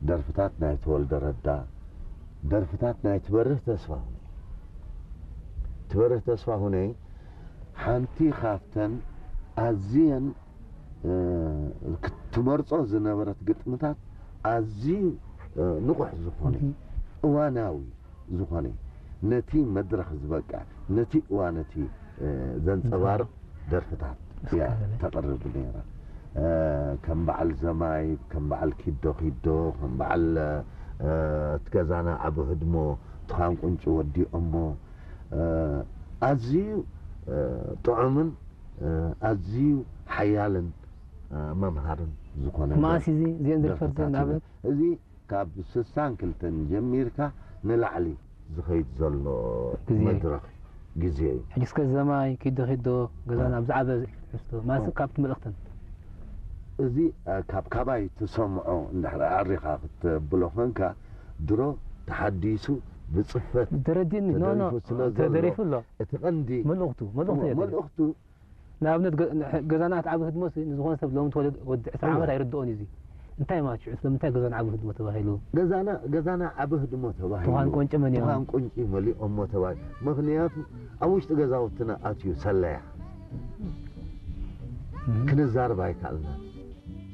ደርፍታት ናይ ተወልደ ረዳ፣ ደርፍታት ናይ ትበርህ ተስፋሁነይ። ትበርህ ተስፋሁነይ ሓንቲ ካብተን ኣዝየን፣ እ፣ ክትመርጾ ዝነበረት ግጥምታት ኣዝዩ፣ እ፣ ንቑሕ ዝኾነ፣ እዋናዊ ዝኾነ፣ ነቲ መድረኽ ዝበቅዕ፣ ነቲ እዋን እቲ፣ እ፣ ዘንጸባርቕ ደርፍታት እያ ተቕርብ ነይራ። እ፣ ከም በዓል ዘማይ፣ ከም በዓል ኪዶ ኪዶ፣ ከም በዓል፣ እ፣ እቲ ገዛና ዓቢ ህድሞ፣ ትኻን ቁንጪ ወዲኦሞ፣ እ፣ ኣዝዩ፣ እ፣ ጥዑምን፣ እ፣ ኣዝዩ ሓያልን፣ እ፣ መምሃርን ዝኾነ መኣስ እዚ እዚአን ዝርፈት ደርፍታት እዩ። ንኣብነት? እዚ ካብ ስሳን ክልተን ጀሚርካ ንላዕሊ ዝኸይድ ዘሎ ግዜ። መድረኽ ግዜ እዩ። ሕጂ እስከ ዘማይ ኪዶ ኪዶ ገዛና ኣብ ዝዓበ ትሕዝቶ፣ ማለት ካብቲ መልእኽተን። እዚ፣ እ፣ ካብ ካባይ ትሰምዖ እንድሕር ኣዕሪኻ ክትብሎ ኾንካ፣ ድሮ ተሓዲሱ ብጽፈት ተደሪፉ ስለ ዘሎ፣ ተደሪፉ ኣሎ። እቲ ቀንዲ መልእኽቱ፣ መልእኽቱ እየ። መልእኽቱ ንኣብነት ገ-፣ ገዛና እቲ ዓቢ ህድሞ ሲ ንዝኾነ ሰብ ሎሚ ተወለደ ወዲ ዕስራ ዓመት ኣይርድኦን እዩ እዚ። እንታይ ማለት እዩ? ስለምንታይ ገዛና ዓቢ ህድሞ ተባሂሉ? ገዛና፣ ገዛና ዓቢ ህድሞ ተባሂሉ። ትኻን ቁንጪ መሊኦም። ትኻን ቁንጪ መሊኦሞ ተባሂሉ። ምኽንያቱ ኣብ ውሽጢ ገዛውትና ኣትዩ ሰለያ። እም። ክንዛረብ ኣይከኣልናን።